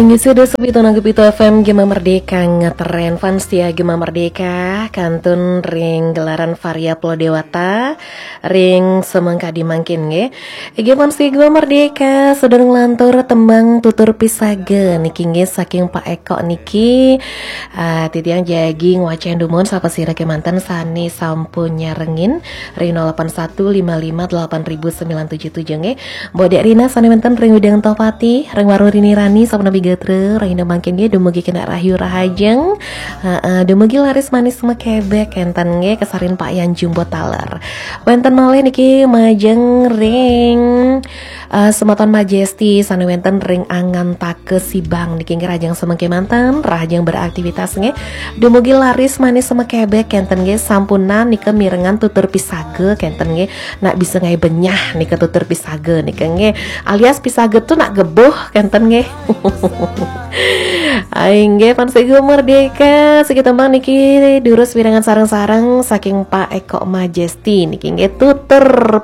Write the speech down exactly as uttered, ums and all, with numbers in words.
Inggih, sudah sepitu nanggu pitu F M Gema Merdeka, ngetren fans setia Gema Merdeka, kantun ring gelaran Varia Pulau Dewata, ring semengkadi mangkin nggih. Inggih, fans setia Gema Merdeka, sedurung lantur tembang Tutur Pisaga niki nggih saking Pak Eko niki. Ah, titiang jagi ngwacén dumun sapasira kémanten sané sampun nyarengin ring nol delapan satu lima lima delapan ribu sembilan tujuh tujuh nggih. Mbok Dek Rina sané wénten ring Widang Tohpati, ring Warung Rini Rani, sapunapi gatra, rahina mangkin nggih, dumugi kena rahayu rahajeng. Heeh, dumugi laris manis makebek kénten nggih, kasarin Pak Yan Jumbo taler. Wénten malih niki majeng ring eh, semeton Majesti sané wénten ring Angantaka Sibang niki nggih, rahajeng semengkémanten, rahajeng beraktivitas nggih. Dumugi laris manis makebek kénten nggih, sampunang nika mirengang Tutur Pisaga kénten nggih. Nak bisa ngaé benyah nika Tutur Pisaga nika nggih. Alias pisaga tu nak gebuh kénten nggih. Ai nggih, fans Gema Merdeka, siki tembang niki durus mirengang sareng-sareng saking Pak Eko Majesti niki nggih, Tutur